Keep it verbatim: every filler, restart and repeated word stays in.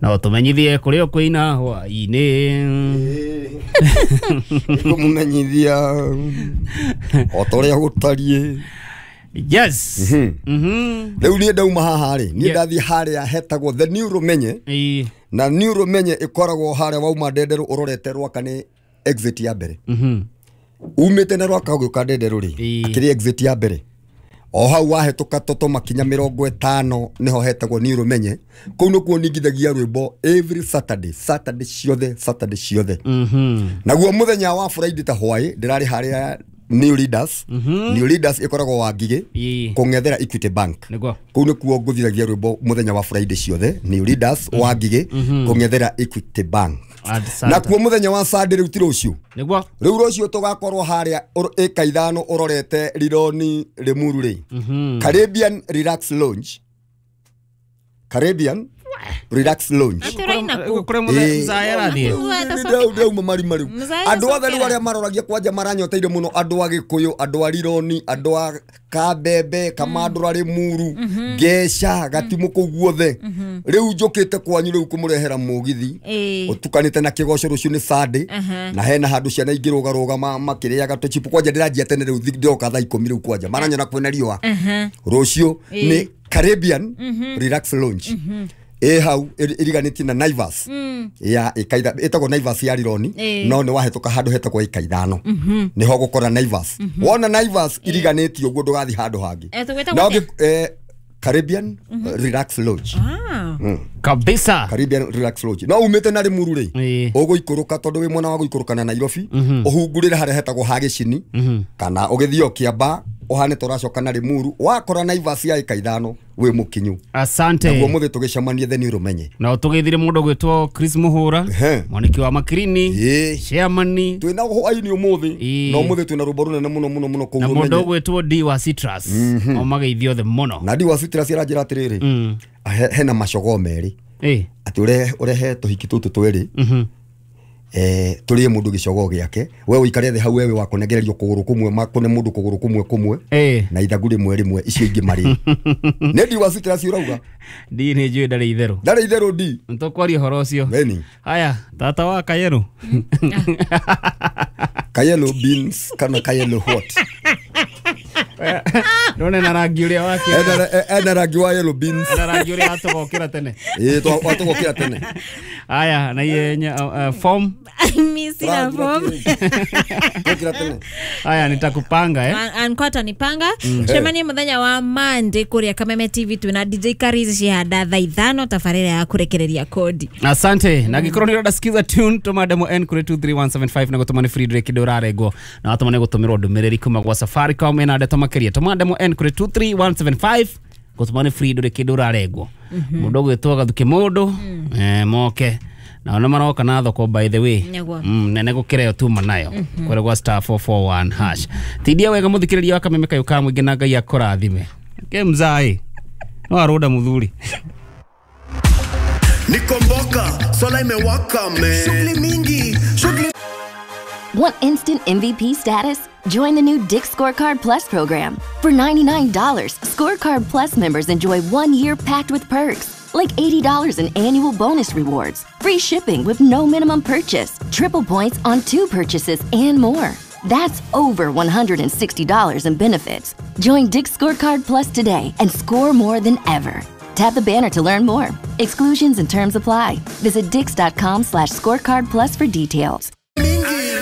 Na ũtũmenyithie kũrĩa ũkũina hwaĩ-inĩ. Kũmũmenyithia o ta ũrĩa gũtariĩ. Yes. Mhm. Rĩu niĩ ndauma haha rĩ, niĩ ndathiĩ harĩa hetagwo The New Rumenye. Na New Rumenye ĩkoragwo harĩa wauma Ndenderũ ũrorete Rwaka nĩ exit ya mbere. Mhm. Umĩte na Rwaka ũgĩũka Ndenderũ rĩ, akĩrĩ exit ya mbere. O hau wahĩtũka toto makinya mĩrongo ĩtano nĩho hetagwo New Rumenye. Kũu nĩkuo ningithagia rwĩmbo every Saturday, Saturday ciothe, Saturday ciothe. Mhm. Naguo mũthenya wa Friday ta hwaĩ ndĩrarĩ harĩa New Leaders. Mm -hmm. New Leaders ikoragwo wa Ngigĩ kũng'ethera Equity Bank. Kũu nĩkuo ngũthithagia rwĩmbo mũthenya wa Friday ciothe New Leaders. mm -hmm. wa Ngigĩ. mm -hmm. kũng'ethera Equity Bank. Na kuo mũthenya wa Sunday rĩu ti rũciũ. Nĩguo rĩu rũciũ tũgakorwo harĩa ĩka ithano ũrorete Rironi Limuru rĩ. mm -hmm. Caribbean Relax Lounge. Caribbean Relax Lounge. Ndauma marima rĩu. Andũ othe rĩu arĩa maroragia kwanja maranyoteire mũno, andũ a Gĩkũyũ, andũ a Rironi, andũ a Kabembe, Kamandũra, Limuru, Ngeca, Gatimũ, kũu guothe. Rĩu njũkĩte kwanyu rĩu kũmũrehera mũgithi ũtukanĩte na kĩgoco. Rũciũ nĩ Sunday na hena handũ ciana ingĩrũgarũga makĩrĩaga tũchipu. Kwanja ndĩranjia tene rĩu ndĩroka thaa ikũmi rĩu kwanja maranyona kwĩna riũa. Rũciũ nĩ Caribbean Relax Lounge. Ĩ hau iriganĩtie na Naivas. Ya ĩka ĩtagwo Naivas ya Rironi, no nĩ wahĩtũka handũ hetagwo ĩka ithano nĩho gũkora Naivas. Wona Naivas iriganĩtie ũguo ndũgathiĩ handũ hangĩ. No Caribbean Relax Lounge. Kabisa. Caribbean Relax Lounge. No umĩte na Limuru rĩ, ũgũikũrũka tondũ wĩ mwena wa gũikũrũka na Nairobi, ũhungurĩre harĩa hetagwo ha Gĩcini, kana ũgĩthiĩ o Kĩamba ũhane tũracoka na Limuru, wakora Naivas ya ĩka ithano wĩ mũkinyu. Asante. Naguo mũthĩ tũgĩcemanie The New Rumenye. Na tũgeithire mũndũ gwĩtwo Chris Muhura, mwaniki wa Makirini, chairman. Twĩna hwaĩ-inĩ ũmũthĩ, na ũmũthĩ twĩna rwĩmbo rũnene mũno mũno mũno kũu Rumenye. Na mũndũ gwĩtwo D wa Citrus, o mageithio othe mũno. Na D wa Citrus aranjĩra atĩrĩrĩ, hena macogoo merĩ, atĩ ũrehe tũhiki tũtũ twĩrĩ, eh turie mundu gicogo giake we uikare thi hau wewe wakunegererio kuguru kumwe makune mundu kuguru kumwe kumwe na ithagu rimwe rimwe icio ingi mari ne ndi wa citrus urauga ndi ni njui ndari itheru ndari itheru ndi ntukwaria horo ucio haya tata wa kayero kayelo beans kana kayelo what None na rangi uria wake ena rangi wa yellow beans na rangi uria atugokira tene eh twatugokira tene haya na yenya form mimi sina form tugokira tene haya nitakupanga eh ankota nipanga cemanie muthenya wa Monday kuria Kameme T V twina D J Karizi cihanda thaa ithano tabarĩra ya kurekereria kodi. Asante na gikorwo ni urenda sikiza tune tuma demo n kuri two three one seven five na gutuma ni free drake nduraregwo na watuma ni gutumirwo ndumiriri kuma gwa Safaricom ina ndeto makiria tuma demo n kuri two three one seven five gutuma ni free ndure kindu uraregwo mundu gwitwo gathuke mundu eh moke na ona maroka na thoko by the way mm nene gukireo tuma nayo kure gwa star four four one hash tindia wega muthikiriria wa Kameme kayu ka mwingi na Ngai akurathime ke mzai no aroda muthuri Nikomboka sola imewaka me shughuli mingi shughuli. Want instant M V P status? Join the new Dick's Scorecard Plus program. For ninety-nine dollars, Scorecard Plus members enjoy one year packed with perks, like eighty dollars in annual bonus rewards, free shipping with no minimum purchase, triple points on two purchases, and more. That's over one hundred sixty dollars in benefits. Join Dick's Scorecard Plus today and score more than ever. Tap the banner to learn more. Exclusions and terms apply. Visit dicks dot com slash scorecard plus for details.